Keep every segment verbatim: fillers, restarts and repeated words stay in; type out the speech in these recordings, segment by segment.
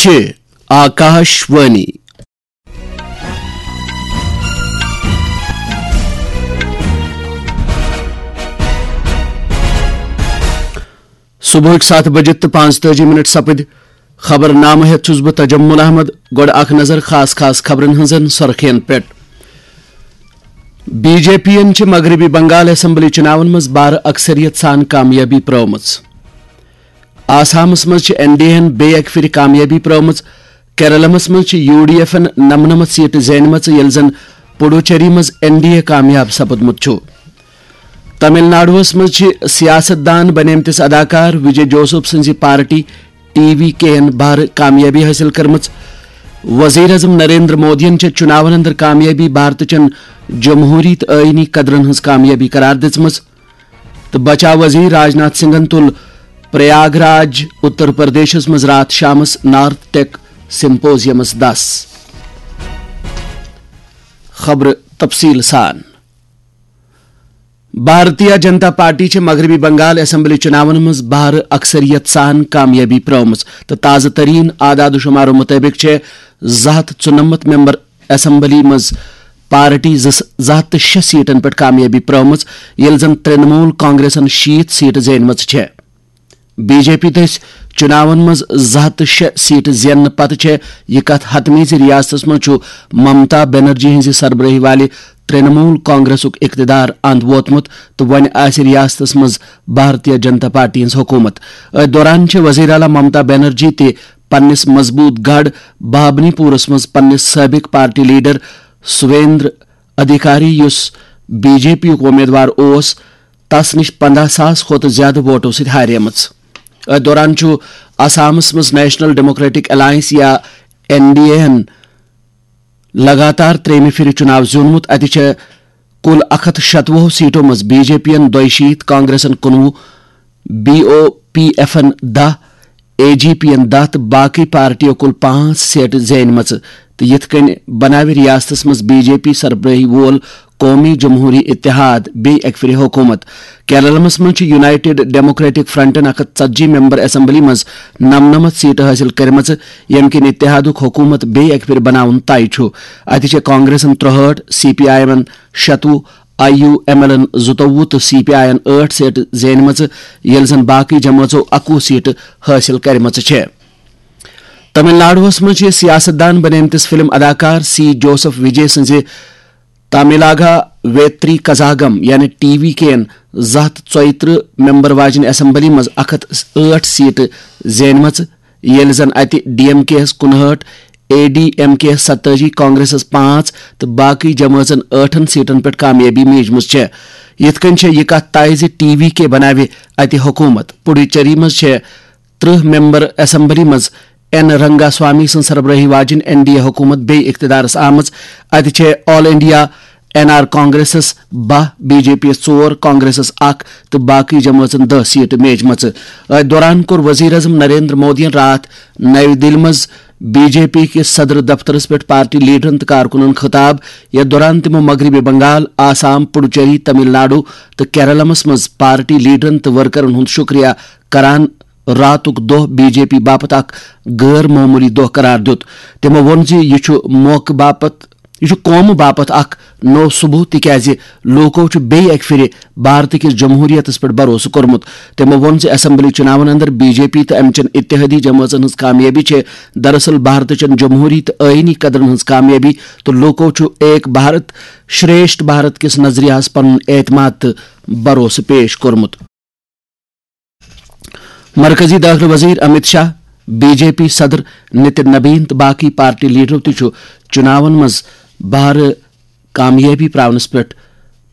چھِ آکاش وانی۔ صبحٕکۍ ستھ بجے تہٕ پانٛژتٲجی منٹ سپٕدۍ۔ خبر نامہٕ ہٮ۪تھ چھُس بہٕ تجمل احمد۔ گۄڈٕ اکھ نظر خاص خاص خبرن ہٕنٛزن سرخین پٮ۪ٹھ۔ بی جے پی یَن چھِ مغربی بنگال اسمبلی چُناون منٛز بارٕ اکثریت سان کامیٲبی پرٲومٕژ۔ آسامس منٛز چھِ این ڈی اے ہن بیٚیہِ اکہِ پھِرِ کامیٲبی پرٲومٕژ۔ کیرلمس منٛز چھِ یوٗ ڈی ایفن نمنمتھ سیٹہٕ زینِمژٕ، ییٚلہِ زن پڈوچیری منٛز این ڈی اے کامیاب سپُدمُت چھُ۔ تمل ناڈوہس منٛز چھِ سیاست دان بنیمتِس اداکار وجے جوسف سٕنٛزِ پارٹی ٹی وی کے یَن بھارٕ کامیٲبی حٲصِل کٔرمٕژ۔ وزیر اعظم نریندر مودیَن چھےٚ چُناون اندر کامیٲبی بھارتہٕ چٮ۪ن جمہوٗری تہٕ ٲیٖنی قدرن ہٕنٛز کامیٲبی قرار دِژمٕژ۔ تہٕ بچاو وزیر راج ناتھ سنگھن تُل پریاگ راج، اتر پردیشس منٛز راتھ شامس نارتھ ٹیک سمپوزیمس دس۔ خبرٕ تفصیٖل سان۔ بھارتیہ جنتا پارٹی چھِ مغربی بنگال اسمبلی چُناون منٛز بھارٕ اکثریت سان کامیٲبی پرٲومٕژ تہٕ تازٕ ترین اعداد و شمارو مُطٲبِق چھِ زٕ ہتھ ژُنَمَتھ ممبر اسمبلی منٛز پارٹی زٕ، زٕ ہتھ تہٕ شےٚ سیٹن پٮ۪ٹھ کامیٲبی پرٲومٕژ، ییٚلہِ زن ترٛنمول کانگریسن شیٖتھ سیٹہٕ زینِمژٕ چھےٚ۔ بی جے پی دٔسۍ چُناون منٛز زٕ ہتھ تہٕ شےٚ سیٹہٕ زیننہٕ پتہٕ چھےٚ یہِ کتھ حتمی زِ ریاستس منٛز چھُ ممتا بنرجی ہٕنٛزِ سربرٲہی والہِ ترٛنمول کانگریسُک اقتدار اند ووتمُت تہٕ وۄنۍ آسہِ ریاستس منٛز بھارتیہ جنتا پارٹی ہٕنٛز حکوٗمت۔ أتھۍ دوران چھِ وزیر اعلیٰ ممتا بنرجی تہِ پننِس مضبوط گڑھ بھابنی پورس منٛز پننِس سٲبق پارٹی لیڈر سویندر ادھیکاری، یُس بی جے پی یُک امیدوار اوس، تس نِش پنٛداہ ساس کھۄتہٕ زیادٕ ووٹو سۭتۍ ہاریمٕژ۔ أتھۍ دوران چھُ آسامس منٛز نیشنل ڈیموکریٹک الائنس یا این ڈی اے ہن لگاتار ترٛیٚیمہِ پھِرِ چُناو زیوٗنمُت۔ اتہِ چھےٚ کُل اکھ ہتھ شتوُہ سیٹو منٛز بی جے پی یَن دۄیہِ شیٖتھ، کانگریسن کُنوُہ، بی او پی ایفن دَہ، اے جی پی یَن دَہ تہٕ باقٕے پارٹیو کُل پانٛژھ سیٹہٕ زینِمژٕ تہٕ یِتھ کٔنۍ بناوِ ریاستس منٛز بی جے پی سربرٲہی وول قومی جمہوری اتحاد بیٚیہِ اکہِ پھِرِ حکوٗمت۔ کیرلمس منٛز چھِ یونائیٹڈ ڈیموکریٹک فرنٹن اکھ ہتھ ژتجی ممبر اسمبلی منٛز نمنمتھ سیٹہٕ حٲصِل کٔرمٕژٕ، ییٚمہِ کِنۍ اتحادُک حکوٗمت بیٚیہِ اکہِ پھِرِ بناوُن طے چھُ۔ اتہِ چھِ کانگریسن ترٛہٲٹھ، سی پی آئی ایمن شتوُہ، آئی یو ایم ایل ان زٕتووُہ تہٕ سی پی آئی یَن ٲٹھ سیٹہٕ زینِمژٕ، ییٚلہِ زن باقٕے جمٲژو اکوُہ سیٹہٕ حٲصِل کٔرمٕژٕ چھےٚ۔ تمل ناڈوہس منٛز چھِ سیاست دان بنیمتِس فلم اداکار سی جوسف وجے سٕنٛزِ تاملانگا ویتری کزاگم یعنی ٹی وی کے یَن زٕ ہتھ ژۄیہِ ترٕٛہ ممبر واجنہِ اسمبلی منٛز اکھ ہتھ ٲٹھ سیٹہٕ زینِمژٕ، ییٚلہِ زن اتہِ ڈی ایم کے یَس کُنہٲٹھ، اے ڈی ایم کے یَس ستٲجی، کانگریسس پانٛژھ تہٕ باقٕے جمٲژن ٲٹھن سیٹن پٮ۪ٹھ کامیٲبی میٖجمٕژ چھےٚ۔ یِتھ کٔنۍ چھےٚ یہِ کتھ طے زِ ٹی وی کے بناوِ اتہِ حکوٗمت۔ پڈوچیری منٛز چھےٚ ترٕٛہ ممبر اسمبلی منٛز این رنگاسوامی سٕنٛز سربرٲہی واجِنۍ این ڈی اے حکوٗمت بیٚیہِ اقتدارس آمٕژ۔ اتہِ چھےٚ آل انڈیا این آر کانگریسس باہ، بی جے پی یَس ژور، کانگریسس اکھ تہٕ باقٕے جمٲژن دَہ سیٹہٕ میجمژٕ۔ أتھۍ دوران کوٚر وزیر اعظم نریندر مودیَن راتھ نَوِ دِلہِ منٛز بی جے پی کِس صدر دفترس پٮ۪ٹھ پارٹی لیڈرن تہٕ کارکُنن خطاب، یتھ دوران تِمو مغربی بنگال، آسام، پڈوچیری، تمل ناڈو تہٕ کیرلمس منٛز پارٹی لیڈرن تہٕ ورکرن ہُنٛد شُکریہ کران راتُک دۄہ بی جے پی باپتھ اکھ غٲر معموٗلی دۄہ قرار دیُت۔ تِمو ووٚن زِ یہِ چھُ موقعہٕ باپتھ، یہِ چھُ قومہٕ باپتھ اکھ نوٚو ثبوت، تِکیازِ لوٗکو چھُ بیٚیہِ اکہِ پھِرِ بھارت کِس جمہوریتس پٮ۪ٹھ بھروسہٕ کوٚرمُت۔ تِمو ووٚن زِ اسمبلی چُناون اندر بی جے پی تہٕ امہِ چٮ۪ن اتحادی جمٲژن ہٕنٛز کامیٲبی چھِ دراصل بھارت چٮ۪ن جمہوری تہٕ آئینی قدرن ہٕنٛز کامیٲبی تہٕ لوٗکو چھُ ایک بھارت شریشٹھ بھارت کِس نظریہس پنُن اعتماد تہٕ بھروسہٕ پیش کوٚرمُت۔ مرکزی دٲخلہٕ وزیر Amit Shah, B J P صدر نتن نبین تہٕ باقی پارٹی لیڈرو تہِ چھُ چُناون منٛز بھارٕ کامیٲبی پراونس پٮ۪ٹھ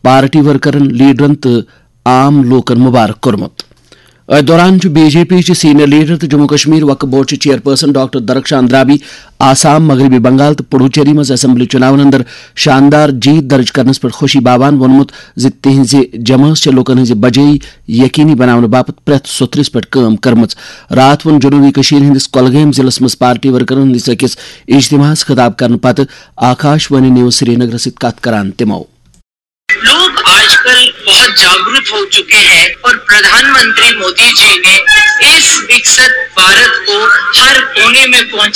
پارٹی ورکرن، لیڈرن تہٕ عام لوٗکن مبارک کوٚرمُت۔ أتھۍ دوران چھُ بی جے پی چہِ سینئر لیڈر تہٕ جموں کشمیر وقف بورڈ چہِ چیئرپرسن ڈاکٹر درخشان درابی آسام، مغربی بنگال تہٕ پڈوچیری منٛز اسمبلی چُناون اندر شاندار جیت درج کرنس پٮ۪ٹھ خوشی باوان ووٚنمُت زِ تِہنٛزِ جمٲژ چھےٚ لوٗکن ہٕنٛزِ بجٲیی یقینی بناونہٕ باپتھ پرٛٮ۪تھ سوٚتھرِس پٮ۪ٹھ کٲم کٔرمٕژ۔ راتھ ووٚن جنوبی کٔشیٖر ہٕنٛدِس کۄلگٲمۍ ضلعس منٛز پارٹی ورکرن ہٕنٛدِس أکِس اجتماعس خطاب کرنہٕ پتہٕ آکاش وانی نیوز سرینگرس سۭتۍ کتھ کران تِمو۔ लोग आजकल बहुत जागरूक हो चुके हैं और प्रधानमंत्री मोदी जी ने इस विकसित भारत को हर कोने में पहुंचा